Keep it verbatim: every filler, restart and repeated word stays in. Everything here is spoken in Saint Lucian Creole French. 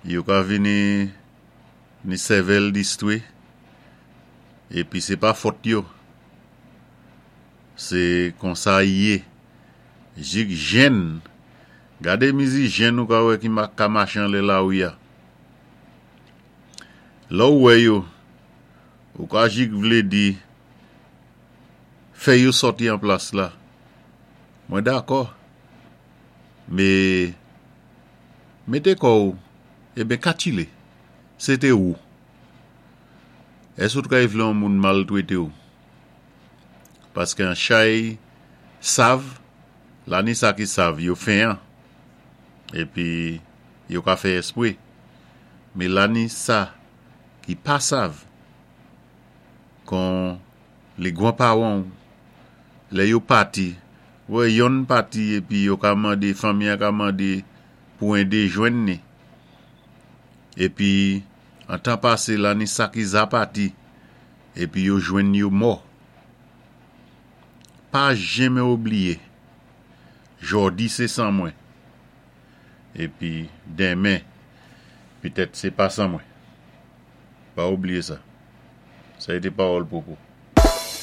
Yo ka vini ni sèvèl distwé, épi sé pa fòt yo. Sé konsa i yé. Jik jenn, gadé mizi jenn ou ka wè ki ka maché anlè lawi-a. Lè ou wè yo, ou ka jik vlé di, fè yo sòti an plas la. Mwen dakò. Mé, mété kò-w, eben katchilé, sé té ou. Ès ou kay vlé yon moun maltwété-w? Paské an chay sav, la ni sa ki sav, yo fenyan. Épi, yo ka fè èspwé. Mé la ni sa ki pa sav, kon lé gwan-pawan'w, lè yo pati, wè yonn pati épi yo ka mandé, fanmi-an ka mandé pou édé jwenn ni. Épi, an tan pasé la ni sa ki za pati, épi yo jwenn yo mò. Pa jenmen oubliyé, jòdi sé san mwen, épi denmen, pitèt sé pa san mwen. Pa oubliyé sa. Sa é té pawòl Popo.